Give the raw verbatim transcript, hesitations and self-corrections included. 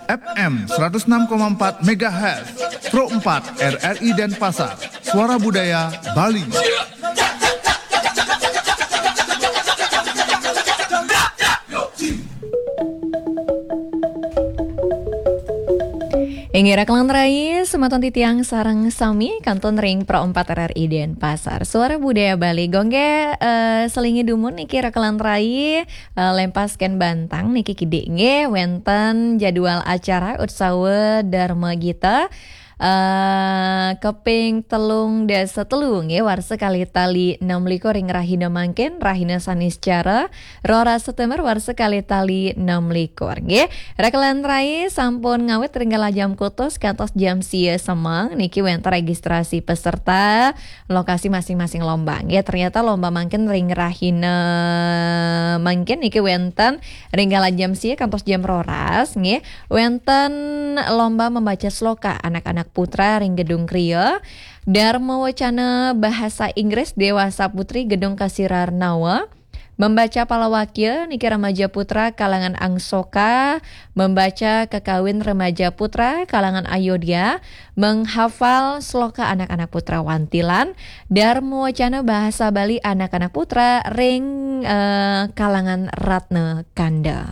F M seratus enam koma empat megahertz, Pro empat R R I Denpasar, Suara Budaya Bali. Inggih raka lan rai, semeton titiang sareng sami kantun ring Pro empat R R I Denpasar. Suara Budaya Bali. Gongge, eh, selingi dumun niki raka lan rai, eh, lempas ken bantang niki kidik nggih, wenten jadwal acara Utsawa Dharma Gita, eh, keping telung dasa telu nggih, warsa kalih tali enam likur ring rahina mangkin, rahina Saniscara, roras September warsa kalih tali enam likur nggih. Raka lan rai, sampun ngawit ring galah jam kutus kantos jam sia semeng niki wenten registrasi peserta, lokasi masing-masing lomba nggih. Ternyata lomba mangkin ring rahina mangkin niki wenten ring galah jam sia kantos jam roras nggih. Wenten lomba membaca sloka anak-anak putra ring Gedung Kria, Dharma Wacana Bahasa Inggris Dewasa Putri Gedung Kasirarnawa, membaca palawakya niki remaja putra kalangan Angsoka, membaca kakawin remaja putra kalangan Ayodhya, menghafal sloka anak-anak putra Wantilan, Dharma Wacana Bahasa Bali anak-anak putra ring, eh, kalangan Ratna Kanda.